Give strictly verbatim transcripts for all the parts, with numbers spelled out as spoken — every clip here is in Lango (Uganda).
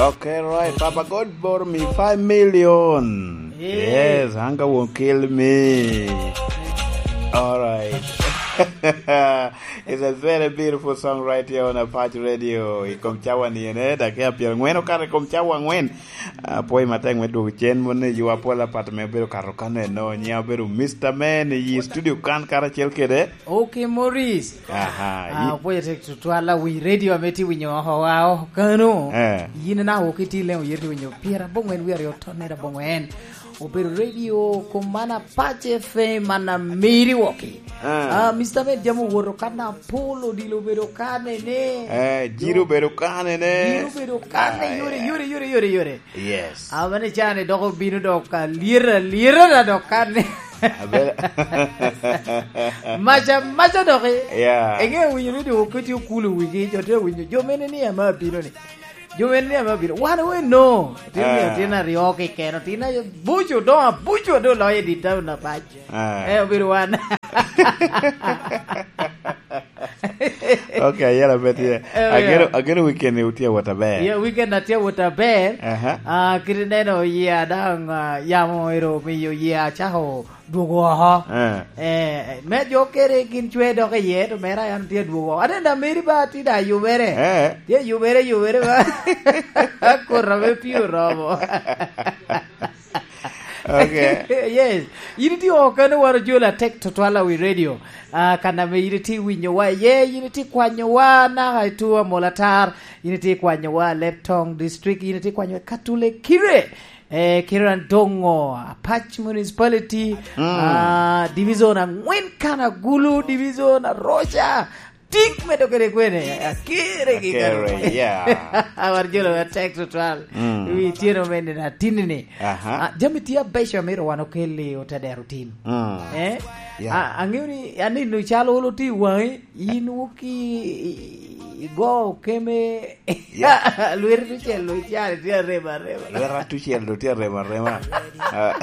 Okay, right. Papa God bought me five million. Yeah. Yes, hunger won't kill me. All right. It's a very beautiful song right here on Apac Radio. I kom cawa ni ene, dakika pyerangwen okato i kom cawa angwen. Apwoyo matek me dwogo cen mon i yo apol apat ame obedo kato kan eno. Nyiŋa obedo Mister Man i studio kan karacel kede Oki Morris. Aha, Ah, i- opwoyo tek tutwal awiny radio ame tye winyo oko wa oko kano. Eh. Yin na oko iti leŋo yeri winyo pyera bongwen wi aryo tonne da bongwen. Obedo radio kom mana pace fe mana miri woki. Eh. Ah, Mister Med jamo woto kan apol odilo obedo kane ne. Eh, jiro obedo kane ne. Jiro obedo kane Ah, yore, yeah. yore, yore, yore, yore. Yes. Amene cani dok obino dok alyeta, alyeta na dok kan. Abe- Maca, maca dok i. Yeah. Eŋe winyo ni dok oketi okulu wigi, jo te winyo, jo mene ni ama abino ni. Jo mene ni ama abino. Wan we no. Tin ni Ah. tin aryo keken, tin abuco, dong abuco, dong loyo di taun apac. Ah. Eh, obedo wan. Okay, ayera bet ye. Eh, Ageno, yeah. ageno weekend ni utye awot aber. Yeah, weekend atye awot aber. Aha. Ah, kit ineno yia daŋ, ah, yamo ero omiyo yia acako dwogo oko. Eh. Eh, me jo kere gin cwe dok iye, to mera yan tye adwogo oko. Ate da meri ba ti da yubere. Eh. Tye yubere, yubere ba. Kora me pio romo. Okay. Yes. Yin itye oko kano waro jolo atek tutwal awi radio. Ah, kan ame yin itye winyowa iye, yin itye kwanyowa naka i Tua Molatar, yin itye kwanyowa Leptong District, yin itye kwanyowa Katule Kire, eh, Kire Andongo, Apac Municipality, Mm. ah, Division angwen kan Agulu, Division Aroca, Tik medo kede kwene, akere gi Akere, kare. Yeah. Awar jolo wa tek tutwal. Mm. Wi tyeno me nino atinni. Aha. Ah, jami tye abeco amito wan okel i otadero tin. Mm. Eh? Yeah. Ah, ang'eyo ni anino calo olo tye i wang'i, in wuki i, i, i go keme. Yeah. Lweti tucel lo icara tye arema arema. Lweta tucel lo tye arema arema. Ah.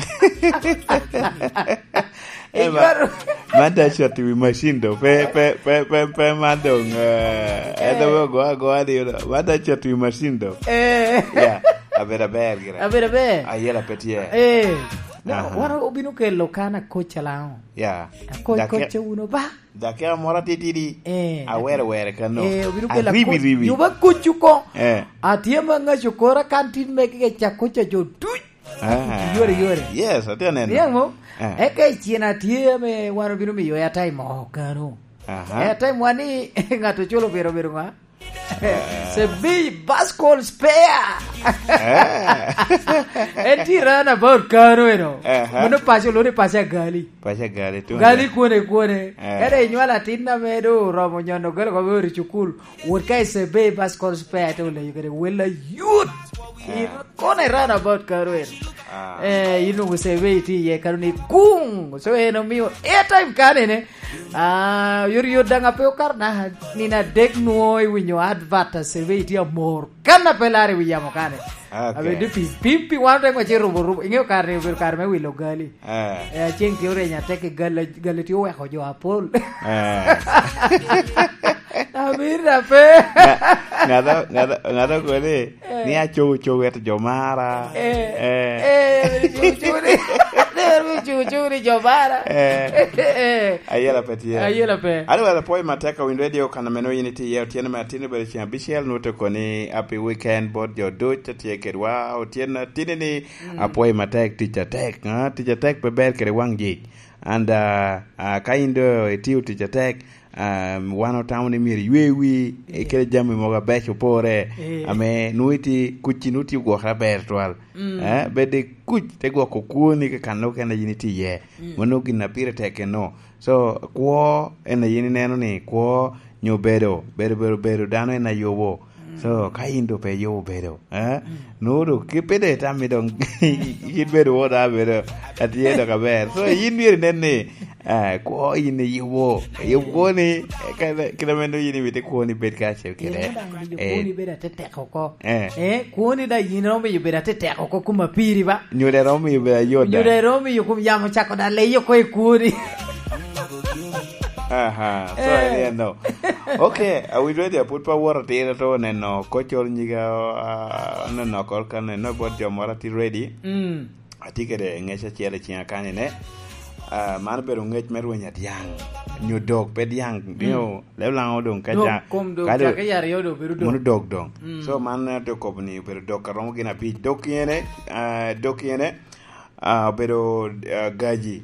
Eh, ma-, Ijwaro- man da cot i wi macin do. Pe, pe, pe, pe, pe man dong, eh, en dong ogo agoa ni, man da cot i wi macin do. Eh. Yeah, abedo aber gire. Abedo aber. Ayela pe tye. Eh. No, Aha. wan obino kelo kan akoc alaŋo? Yeah. Akoc, Dake-, koc ce uno ba. Dakika moro atitidi. Eh. Awere were kano. Eh, obino kelo Aribi akoc. ribi. Juba koc uko. Eh. Atye ma ŋaco kora kan tin me kike ca koc a jo duc. Ah. Yore, yore. Yes, atye neno. Niaŋ mo? Ah. Eka i cina tye ame wan obino miyo airtime oko kano. Aha. Airtime wan ni ŋat ocul obedo, obedo ŋa? Ah. Sebi Bascol Spare. Ah. En tye round about kano eno. Aha. Mano paco, lwongo ni paco agali. Paco agali, tuŋ Gali agali. Kwone, kwone. Ah. Ere inywalo atin ame do oromo nyono galo ko ori cukul. Wot ka i Sebei Bus Call Spare te oleyo kede wel ayut. Ah. In kono i round about karo en. Ah. Eh, in onwoŋo Sebei itye iye kano ni guŋ. So en omio airtime kanene. Ah, yot yot daŋ ape okato naka nino adek nwoŋo iwinyo advert a Sebei itye amor. Kan ape lar i wi yamo kane. Ah, okay. Abedo pi, pi, pi wan ote ŋwece rubo rubo. Iŋeo kare ni obedo kare me wilo gali. Eh. Eh, aceng tye oreny atek i gal, gal tye oweko jo apol. Eh. Amir da pe. Nga-, ngata, ngata, ngata koni, Eh. ni acogo cogo eto jo mara. Eh. Eh. Eh, cogo cogo ni. Cogo cogo ni jo mara. Eh. Eh. Ayela pe tye. Ayela pe. Alo, wala pwoyo matek a Win Radio kan meno yin itye iye otyeno me atin obedo ceng abicel, nwoto koni happy weekend bot jo duc a tye kedwa. Otyeno atin ni Mm. Apwoyo matek, tic atek, ah, tic atek pe ber kede waŋ jic. And, ah, ah, ka in do itio tic atek, ah, wan otamo ni myero iywe wi, eh, kede jami mogo abeco opore, Eh. ame nwoŋo iti kuc, nwoŋo iti ogwokere aber twal. Mm. Eh, bed i kuc, te gwoko kwoni ka kan okene yin iti iye. Mm. Mano gin a pire tek eno. So, kwo en aye ineno ni kwo nyo bedo, bedo, bedo, bedo dano en ayubo. Mm. So, ka in do pe iyubo bedo, eh? Mm. Nwoŋo do ki pe do itammi doŋ, yin bedo wot a bedo atye dok aber. So, yin myero inen ni, eh, kwo in iyubo. Iyubo kwoni, eh, ka, kite meno yin imito kwoni bed kacel kede. Yin daŋ miyo Eh. kwoni bedo atetek oko. Eh. Eh, kwoni da yin romo miyo bedo atetek oko kuma piri ba. Nyo da romo miyo bedo ayot da. Nyo da romo miyo kum yamo cako da leyo oko i kwoni. Aha, so en eno. Okay, awinyo ready, apud pa woro atir to neno kocol nyiga, ah, neno kol ka neno bot jo moro atir ready. Mm. Atye kede ngec acel i cinga kani ne. Ah, man obedo ngec me rweny adyaŋ. Nyo dok pe dyaŋ, nyo leb laŋo doŋ ka Dok, ja-, kom dok, ka do-, cake i aryo do bedo dok. Mono dok doŋ. Mm. So man, eh, te kobo ni obedo dok a romo gin abic. Dok ene, ah, dok ene, ah, obedo, ah, gaji.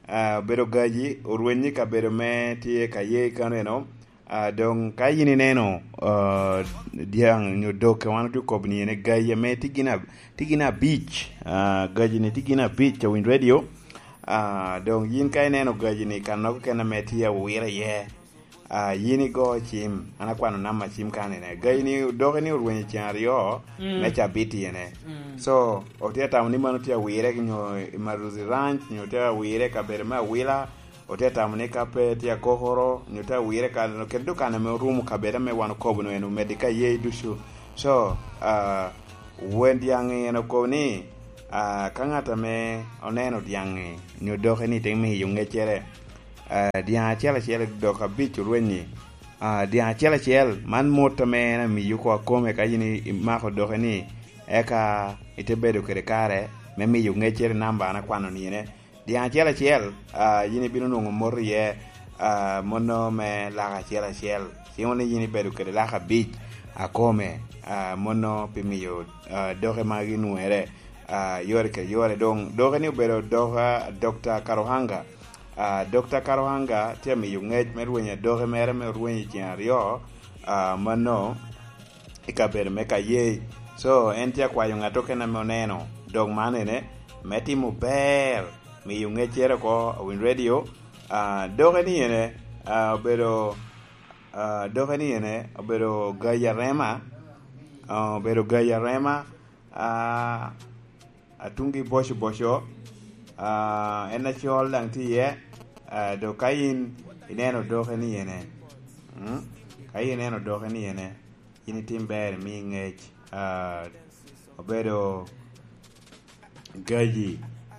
Ah, obedo gaji, orwenyi kabedo me tye ka ye kano eno. Ah, doŋ ka yin ineno, ah, dyaŋ nyo dok, wan otye kobo ni ene gaji ame tye gin ab-, tye gin abic. Ah, gaji ni tye gin abic, Awiny Radio. Ah, doŋ yin ka ineno gaji ni, kannogo kene ame tye awira iye. Ah, yin igo cim, an akwano namba cim kani ne. Gaji ni, doki ni orwenyo ceng aryo, mm, me cabit ene. Mm. So, otye atamo ni mano tye awire nyo i Maruzi Ranch, nyo tye awire kabedo me Awila, otye atamo ni ka pe tye akokoro, nyo tye awire ka, kede dukano ame orumo kabedo ame wan okobo no en omedde ka ye ducu. So, ah, wen dyaŋ en okobo ni, ah, ka ŋat ame oneno dyaŋ-ŋi, nyo doki ni te miyo ŋeccere, ah, dyaŋ acel acel dok abic orwenyi, ah, dyaŋ acel acel, man mot ame en amiyo oko akome ka yin i-, imako doki ni, eka ite bedo kede kare me miyo ŋeccere namba an akwano ni ene. Dyaŋ acel acel, ah, yin ibino nwoŋo mot iye, ah, mono me laka acel acel. Cimo ni yin ibedo kede laka abic akome, ah, mono pi miyo, ah, doki magi nwoŋere, ah, yore kede yore. Doŋ, doki ni obedo dok, ah, Dokta Karuhanga. Ah, Dokta Karuhanga tye amiyo ŋec me rwenyo adoki mere me orwenyo i ceng aryo, ah, mano i kabedo me Kayei. So, en tye akwayo ŋat okene ame oneno dok man ene, me timo ber, miyo ŋeccere oko, Awiny Radio. Ah, doke ni ene, ah, obedo, ah, doke ni ene, obedo gayi arema, ah, obedo gayi arema, ah, atungi boco boco, ah, en acol daŋ tye iye, ah, dok ka in ineno doke ni ene, mm, ka in ineno doke ni ene, yin itim ber, imi ŋec, ah, obedo gaji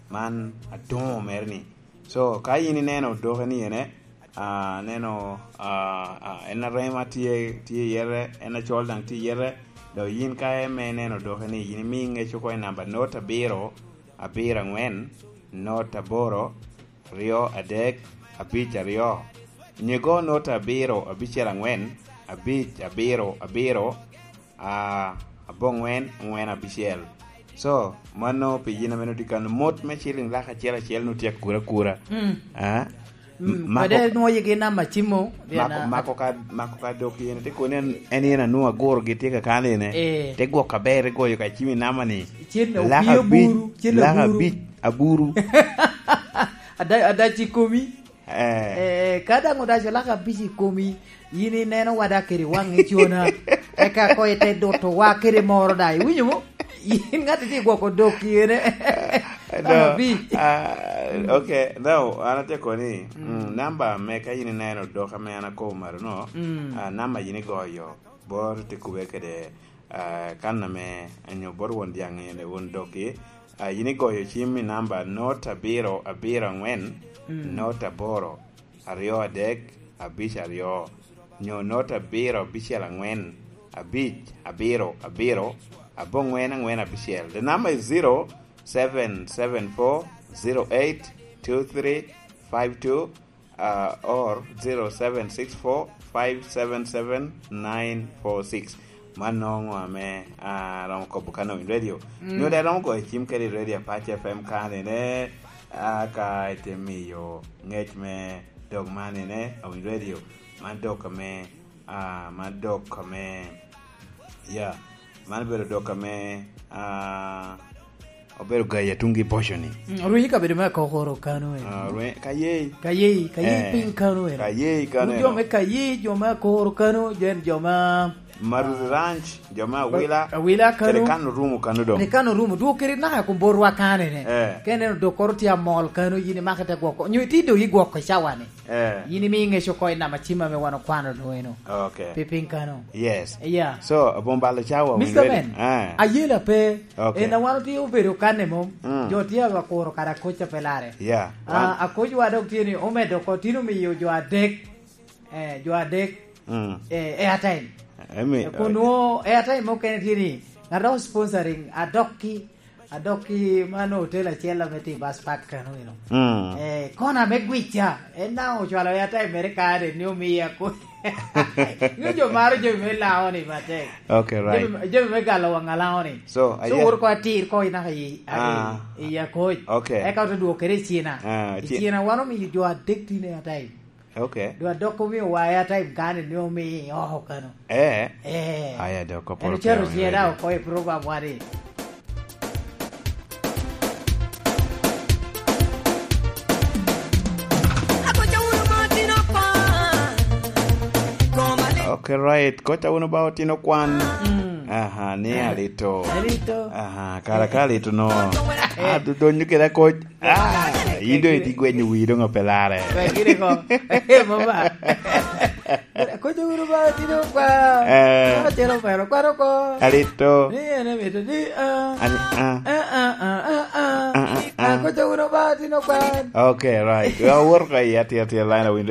man atuŋo mere ni. So, ka yin ineno doke ni ene, ah, neno, ah, ah, en arema tye, tye i yete, en acol daŋ tye i yete, dok yin ka eme ineno doke ni, yin imi ŋec oko i namba not abiro, abiro angwen, not aboro, aryo adek, abic aryo. Nyigo not abiro, abicel angwen, abic abiro, abiro, ah, aboŋwen, angwen abicel. So, mano pi yin ame nutye kano mot me ciling lak acel acel nutye akura akura. Mm. Ah? Mm, mako kadi nwoŋo yigi namba cimo, mako, mako ka, mako ka dok yen, te koni en, en yen anwoŋo aguro gi tye kakano ene. Eh. Te gwok aber, te goyo ka cimi namba ni. Cen lak opii abic, aburu, cen lak aburu. Abic, aburu. Ada, ada ci komi. Eh. Eh, ka daŋ odaco lak abic i komi, yin ineno wada kede waŋi cona. Eka ko ite doto wa kede moro da. Iwinyo mo? Yin ŋat iti gwoko dok yene. No, lak abic. Ah, okay. No, an atye koni, mm, mm, namba me ka yin ineno dok ame an akobo malo no, mm, ah, namba yin igoyo. Bot te kube kede, ah, kan ame, anyo bot won dyaŋ ene, won doggi. Ah, yin igoyo cim i namba not abiro abiro angwen, mm, not aboro, aryo adek, abic aryo, nyo not abiro abicel angwen, abic abiro abiro, aboŋwen angwen abicel. The number is zero seven seven four zero eight two three five two, uh, or zero seven six four five seven seven nine four six. Man nongo ame, ah, romo kobo kano i radio. Mm. Nyo de romo goyo cim kede i radio Apac F M kano ene, ah, ka ite miyo ngec me dog man ene, Awiny Radio. Man dog ame, ah, man dog ame, yeah, man obedo dog ame, ah, obedo gayi atungi boco ni. Mm, orwenyo i kabedo me Akokoro kano eno. Ah, orwenyo, ka yei. Ka yei, ka yei, eh, piny kano eno. Ka yei kano eno. Wun jo me ka yei, jo me Akokoro kano, jo en jo ma Maruzi Ranch, jo me Awila. Awila kano. Kede kano rumo kano dong. Kede kano rumo, dwog kede naka kun borwa kano ene. Eh. Ka ineno dokkoro tye amol kano, yin imako ite gwoko. Nyo iti dong igwoko i cawa ni. Eh. Yin imi ŋec oko i namba cim ame wan okwano dong eno. Okay. Pi piny kano. Yes. Yeah. So, abom balo cawa. Mister Ben, eh, ayela pe. Okay. En a wan otye obedo kanne mom. Mm. Jo tye akuro kara koc a pe lare. Yeah. Ah, wan akoc wa dok tye ni omedo oko, tin omiyo jo adek eh, jo adek, Mm. eh, airtime. Emi, Eh, kun nwo airtime mukene tye ni, nga dok sponsoring, adok ki, adok ki mano hotel acel ame tye i bus park kano, you know. Mm. Eh, kona me gwica, en na ocwalo airtime mere kare ni omiya ko. Nyo jo maro jami me lao ni matek. Okay, right. Jami, jami me galo wang alao ni. So, So, aye- wot ko atir ko inaka i, Ah. i, i akoc. Okay. Eka ote dwokere i Cina. Ah, I ci- Cina wan omiyo jo adek tin airtime. Okay. Dwa dok omiyo wa airtime kani ni omi oko kano. Eh. Eh. Aya, dok oporo En ocato piny cieda already. oko i program wadi. Okay, right. Koca wunu ba otino kwan. Mm. Aha, ni alito. Alito. Aha, kara ka alito no. Ah, do-, donyo kede akoc. Ah, in doŋ itye gwenyo wii doŋ ope larre. Wek gire ko. Eh, mama. Koca wunu ba otino kwa. Eh. Koca wunu ba otino kwa. Alito. Ni en emito ni, ah. Ani, ah. Ah, ah, ah, ah, ah. Ah, ah, ah. Ah, koca wunu ba otino kwa. Okay, right. Wa wot ko i atir, atir line of